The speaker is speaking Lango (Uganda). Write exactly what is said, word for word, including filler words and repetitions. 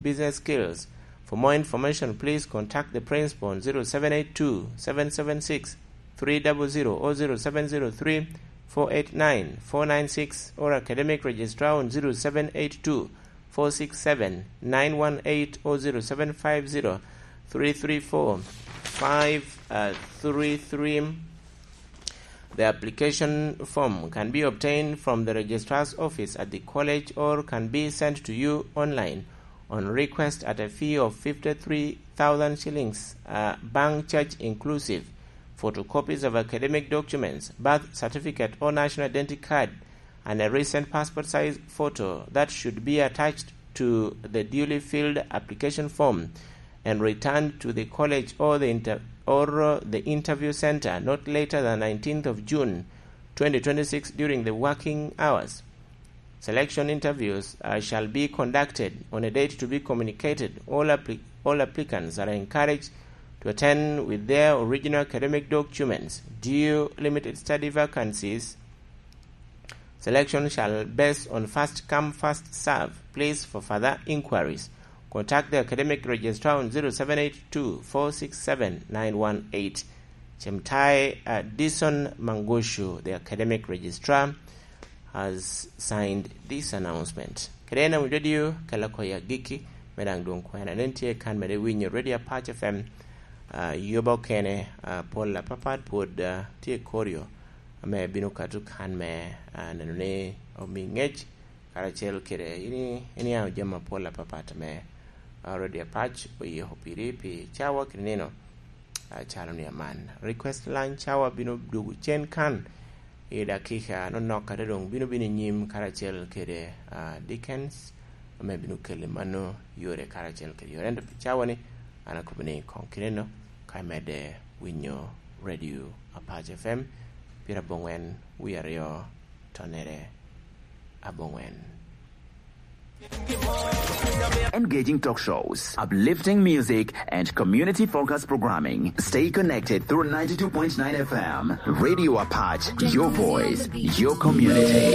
business skills. For more information, please contact the principal on zero seven eight two, seven seven six, three double zero or zero seven zero three, four eight nine, four nine six, or academic registrar on zero seven eight two, four six seven, nine one eight or zero seven five zero, three three four, five three three. The application form can be obtained from the registrar's office at the college or can be sent to you online on request at a fee of fifty-three thousand shillings, uh, bank charge inclusive. Photocopies of academic documents, birth certificate or national identity card, and a recent passport size photo that should be attached to the duly filled application form and returned to the college or the inter-, or, uh, the interview center not later than nineteenth of June twenty twenty-six during the working hours. Selection interviews, uh, shall be conducted on a date to be communicated. All appli-, all applicants are encouraged to attend with their original academic documents. Due limited study vacancies, selection shall based on first come, first serve. Please, for further inquiries, contact the academic registrar on zero seven eight two, four six seven, nine one eight. Chemtai, uh, Dison Mangoshu, the academic registrar, has signed this announcement. Kede en awinyo radio, kela koya giki, me daŋ dwong kwena. Nen tye kan mede winyo Radio Apac F M, uh, yoba okene, uh, pol apapat pwod, uh, tye koryo, ame bino kato kan me, uh, neno ni omi ŋec, karacel kede ini, iniaŋo jami apol apapat ame, uh, Radio Apac oyiko piri pi cawa kede nino, uh, calo ni aman. Request line cawa bino dwogo cen kan i dakika nonok, kata doŋ bino bino i nyim karacel kede, ah, Dickens, ame bino kele mano yore karacel kede yore. Ento pi cawa ni, an akobo ni koŋ kineno, ka imedde winyo Radio Apac F M, pira boŋwen wie aryo tonere aboŋwen. Engaging talk shows, uplifting music, and community-focused programming. Stay connected through ninety-two point nine F M. Radio Apac, your voice, your community.